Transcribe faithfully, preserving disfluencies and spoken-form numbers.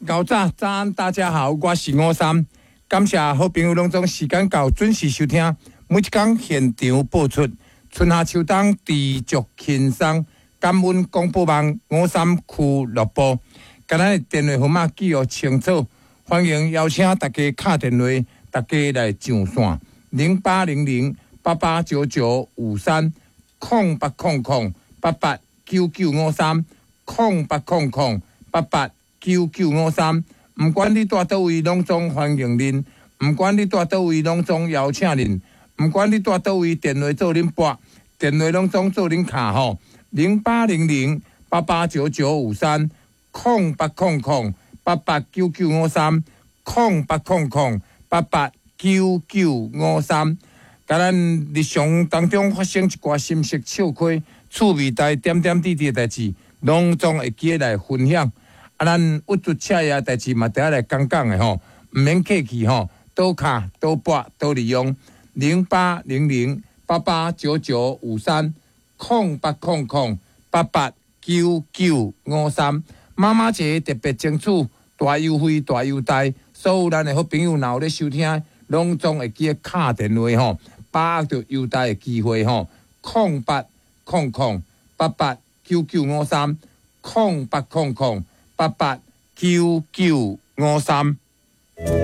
𠢕早早安，大家好，我是吳三，感謝好朋友攏總時間到準時收聽，每一工現場播出春夏秋冬知足輕鬆，感恩廣播網五三俱樂部，共咱的電話號碼記錄清楚，歡迎邀請大家敲電話，大家來上線零八零零八八九九五三空八空空八八九九五三空八空空八八九九五三，毋管你蹛佗位，攏總歡迎恁；毋管你蹛佗位，攏總邀請恁；毋管你蹛佗位，電話做恁撥，電話攏總做恁敲吼。零八零零八八九九五三空八空空八八九九五三空八空空八八九九五三。共咱日常當中發生一寡心事笑虧、趣味代點點滴滴的代誌，攏總會記得來分享。啊，咱鬱卒赤夜代誌嘛，得愛來講講的吼，毋免客氣吼，多敲多撥多利用零八零零八八九九五三空八空空八八九九五三。媽媽節特別爭取大優惠大優待，所有咱的好朋友若有咧收聽，攏總會記得敲電話吼，把握著優待的機會吼，空八空空八八九九五三空八空空八八九九五三。